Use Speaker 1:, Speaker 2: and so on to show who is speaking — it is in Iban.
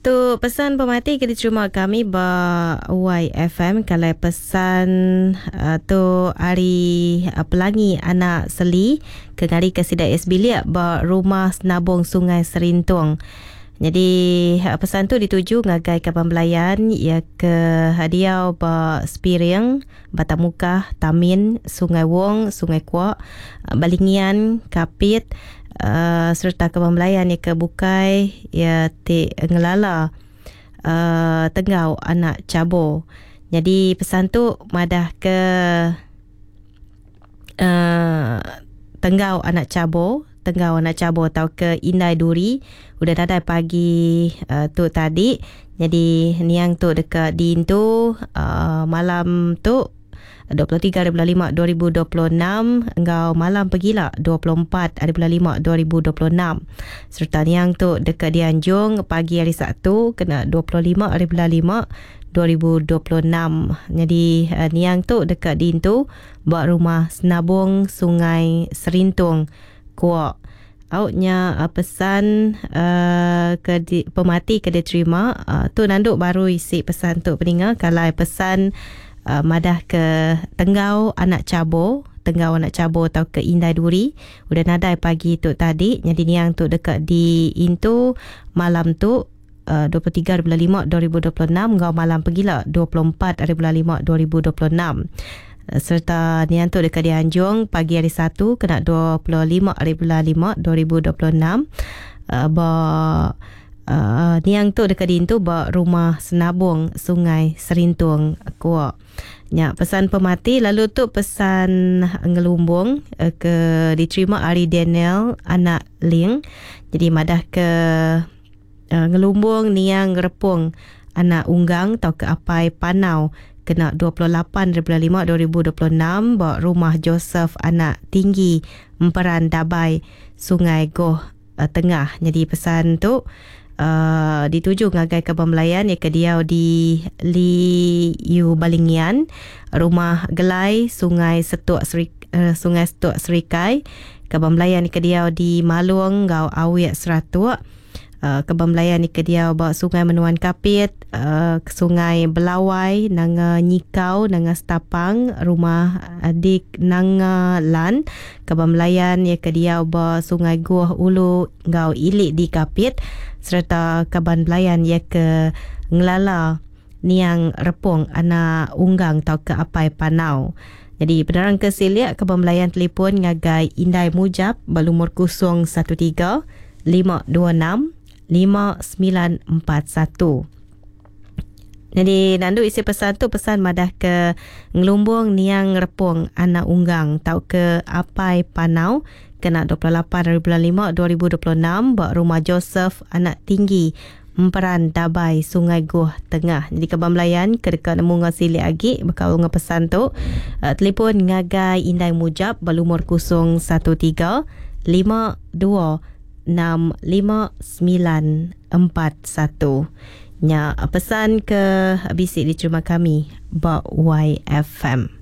Speaker 1: Tu pesan pemati ke diterima kami ba YFM kalau pesan tu hari Pelangi anak Seli ke ngari ke sida S bilik ba rumah Senabong Sungai Serintung. Jadi pesan tu dituju ngagai kaban belayan ya ke hadiah ba Spiring, Batamukah, Tamin, Sungai Wong, Sungai Kuak, Balingian, Kapit, serta kaban belayan ya ke bukai ya ti ngelala Tenggau anak Chabo. Jadi pesan tu madah ke Tenggau anak Chabo, Tenggau anak Chabo atau ke Indai Duri udah dadai pagi tu tadi. Jadi niang tu dekat diintu malam tu 23 hari bulan 5 2026 enggau malam pegila 24 hari bulan 5 2026. Serta niang tu dekat dianjung pagi hari Sabtu kena 25 hari bulan 5 2026. Jadi niang tu dekat diintu ba rumah Senabong Sungai Serintung Kuak. Auknya pesan ke di, pemati ke diterima tu nanduk baru isi pesan tu peninga kalau pesan madah ke Tenggau anak Chabo, Tenggau anak Chabo atau ke Indai Duri udah nadai pagi tu tadi. Jadi niang tu dekat diintu malam tu 23 bulan 5 2026 enggau malam pegila 24 hari bulan 5 2026. Serta niang tu dekat dianjung pagi hari 1 kena 25 hari bulan 5 2026 ba niang tu dekat diintu ba rumah Senabong Sungai Serintung Kuak. Nya pesan pemati. Lalu tu pesan ngelumbung ke diterima hari Daniel anak Ling. Jadi madah ke ngelumbung niang Repung anak Unggang atau ke Apai Panau kena 28 bulan 5 2026 ba rumah Joseph anak Tinggi Emperan Dabai Sungai Goh Tengah. Jadi pesan tu dituju ngagai kaban belayan yang ke diau di Liu Balingian, rumah Gelai Sungai Setuk Seri, Sungai Setuk Serikai, kaban belayan ke diau di Malung enggau Awik Seratuk, kaban belayan ke diau ba Sungai Menuan Kapit, Sungai Belawai, Nanga Nyikau, Nanga Setapang, rumah Dik Nanga Lan, kaban belayan ke diau ba Sungai Guh Ulu enggau Ilik di Kapit, serta kaban belayan ke ngelala niang Repung anak Unggang atau ke Apai Panau. Jadi penerang ke silik kaban belayan telefon ngagai Indai Mujab berlumur 013 526 5941. Jadi nandu isi pesan tu pesan madah ke ngelumbung niang Repung anak Unggang tau ke Apai Panau kena 28 hari bulan 5 2026 ba rumah Joseph anak Tinggi Emperan Dabai Sungai Goh Tengah. Jadi kaban belayan ke dekat nemu ngau silik agi bekau ngau pesan tu telefon ngagai Indai Mujab berlumur 013 52 65941. Nya pesan ke bisi diterima kami ba YFM.